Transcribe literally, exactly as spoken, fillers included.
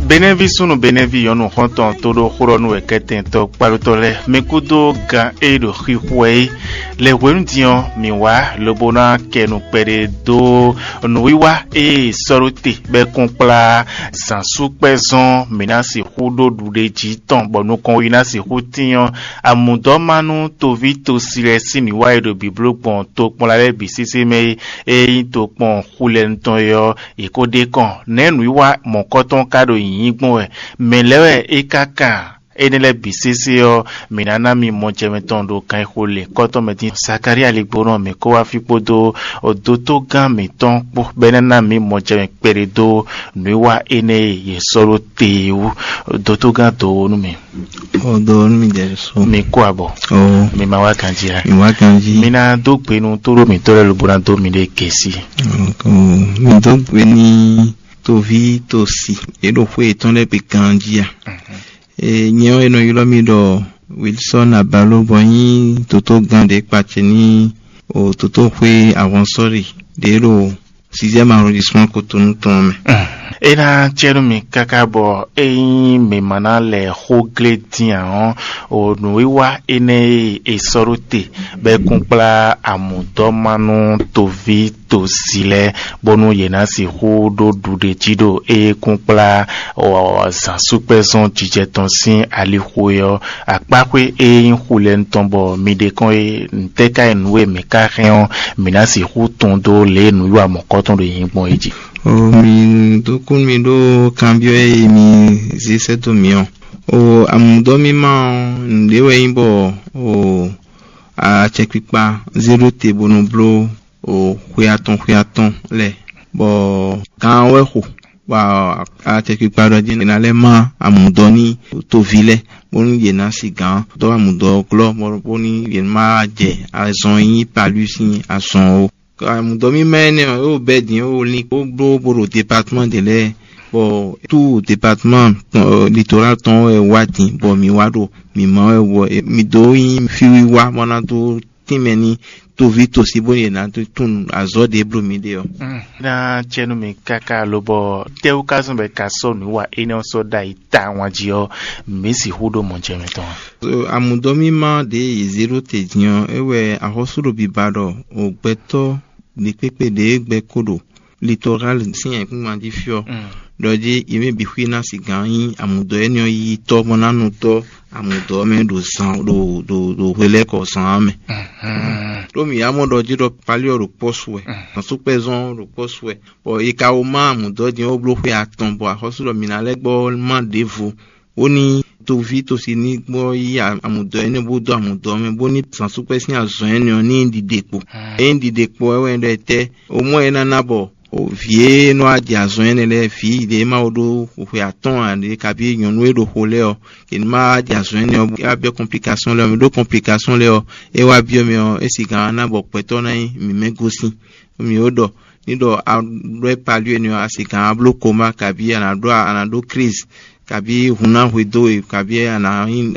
Benɛví súnnu Benɛví nyɔ̌nu xɔ́ntɔn tó ɖó xó ɖɔ nú wɛ̌kɛ́tɛntɔ́ kpálótɔ́ lɛ́ɛ, mi kúdó gan e ɖo xixo wɛ é. Lɛ hwenu din ɔ́, mǐ wá lobo ná kɛ nǔ kpɛɖé dó nǔwiwa e sɔ́ ɖó te bɔ é kún kplá zǎnsúkpɛ́zɔn mǐ ná sixú ɖó ɖuɖéjí tɔn bɔ nukɔn yi ná sixú tín ɔ́. Amǔdɔ́manu toví tosi lɛ́ɛ sín nǔwiwa e ɖo bǐbló gbɔn tokpɔnla lɛ́ɛ bǐ sésé mɛ é, e nyí tokpɔn xulɛnu tɔn é ɔ́, è ko ɖe kɔn nɛ̌ nǔwiwa mɔ̌kɔtɔn ka ɖo nyǐnyí gbɔn wɛ? Mɛ̌ lɛ́ɛ wɛ é ka kan? Énɛ́ lɛ́ɛ bǐ sésé ɔ́, mǐ ná ná mi mɔjɛmɛ tɔn ɖo kan e xo lě kɔ́tɔn mɛ dín. Zakalía ligbónɔ mǐ kó wá fí kpódó dótógán mǐtɔn kpó, bɔ é ná ná mǐ mɔjɛmɛ kpɛɖé dó nǔwiwa énɛ́ e yě sɔ́ ɖó te é wú. Dótógán dǒ nú mì. Ó dó nú mi jɛ so. Mi kú abɔ. Ó. Mi ma wá ganjí a? Mi wá ganjí. Mi ná dó gbe nú tóɖó mǐtɔn lɛ́ɛ lobo ná dó miɖée gěsí. Ó, mi dó gbe ní toví tosi. É ɖo xwé yětɔn lɛ́ɛ gbe ganjí a? Ee, nyɛ ɔ́, è nɔ ylɔ́ mì ɖɔ Wilson Abalo, bɔ nyí dǒtó gán ɖě kpacɛ ní o dǒtóxwé Avansɔ́li ɖě ɖo sixième arrondissement Cotonou tɔn mɛ. É ná cɛ nú mi káká bɔ ényí mǐ ma ná lɛ xó glé dín ǎ ɔ́, o nǔwiwa énɛ́ e è sɔ́ ɖó te bɔ é kún kplá amǔdɔ́manu toví tosi lɛ́ɛ, bónú yě ná sixú ɖó ɖuɖéjí ɖo é kún kplá zǎnsúkpɛ́zɔn jijɛ tɔn sín alixo é ɔ́. Akpáxwé e nyí xulɛnu tɔn bɔ mi ɖe kɔn é, ntɛ́ ka nyí nǔ e mǐ ka hɛn ɔ́, mǐ ná sixú tunwun dó lě e nǔwiwa mɔ̌kɔtɔn ɖo nyi gbɔn é jí. O mi dó kú mi ɖó kanbyɔ́ e mi zé sɛ́ dó mǐ ɔ́. O amǔdɔ́mímá ɔ́, nǔɖé wɛ nyí bɔ o acɛkpikpa zé ɖó te bó nɔ bló o xwe atɔn xwe atɔn lɛ́ɛ, bɔ gǎn ɔ́ wɛ xo, bɔ acɛkpikpa ɖɔ jí è nǎ lɛ́ má amǔdɔ́ ní toví lɛ́ɛ, bónú yě ná si gǎn dó amǔdɔ́ ɔ́ glɔ́, bónú yě má jɛ azɔn e nyí Palú sín azɔn ó. Amǔdɔ́ mímá énɛ́ ɔ́, é wǒ bɛ́ din, é wǒ lin, bó bló bó ɖo departman ɖě lɛ́ɛ, bɔ tout departman tɔn, litoral tɔn wɛ wá din, bɔ mǐ wá ɖo mǐ má wɛ wɔ, mǐ dó nyí fíwiwa bɔ ná dó tínmɛ ní toví tosí bónú yě ná dó tunwun azɔ̌ ɖě bló mǐ ɖe ɔ́. Ná cɛ́nú mi káká lobɔ tɛ́wú ka zɔ́n bɔ è ka sɔ́ nǔ wa énɛ́ ɔ́ sɔ́ ɖ'ayǐ tawun jí ɔ́, mǐ sixú ɖó mɔjɛmɛ tɔn a? Amǔdɔ́mímá ɖě yě zé ɖó te din ɔ́, é wɛ axɔ́sú ɖo biba ɖɔ o gbɛtɔ́ ɖěkpékpé ɖě gbɛ kó ɖo Litoral sín ayǐkúngban jí fí ɔ́, ɖɔ jí yě mɛ bǐ xwí ná sigǎn nyí amǔdɔ́ énɛ́ ɔ́ yíyí tɔ́ bɔ ná nu tɔ́ amǔdɔ́ ɔ́ mɛ ɖo zan ɖo ɖo ɖo hwelɛ́kɔ zan ɔ́ mɛ. Ɖó mǐ yá mɔ ɖɔ jí ɖɔ Palí ɔ́ ɖo kpɔ́ su wɛ, zǎnsúkpɛ́zɔn ɔ́ ɖo kpɔ́ su wɛ, bɔ è ka wó má amǔdɔ́ din ɔ́ bló xwé atɔn, bɔ axɔ́sú ɖɔ mǐ ná lɛ́ gbɔ má ɖěvo, bó ní toví tosi ní gbɔ yí amǔdɔ́ énɛ́ bó dó amǔdɔ́ mɛ, bó ní zǎnsúkpɛ́ sín azɔ̌ énɛ́ ɔ́ ní ɖiɖe kpo. Ényí ɖiɖe kpo wɛ wɛ ɖɔ etɛ́, o mɔ é ná ná bɔ vǐ e nɔ wá jɛ azɔn énɛ́ lɛ́ɛ, vǐ ɖě ma wo ɖó xwe atɔ́ɔ́n ǎ ɖě, kabí nyɔ̌nu e ɖo xo lɛ́ɛ ɔ́, yě ní ma wá jɛ azɔn énɛ́ ɔ́, é wá byɔ́ kɔnplikasɔ́n lɛ́ɛ ɔ́, mɛ ɖó kɔnplikasɔ́n lɛ́ɛ ɔ́, é wá byɔ́ mɛ ɔ́, é sigǎn ná bɔ gbɛtɔ́ ná nyí mǐ mɛ gosín. Mǐ ó ɖɔ ní ɖɔ a ɖó é palú énɛ́ ɔ́, a sigǎn a bló koma, kabí a nǎ ɖó a nǎ ɖó crise, kabí hun ná hwedó we, kabí a nǎ nyí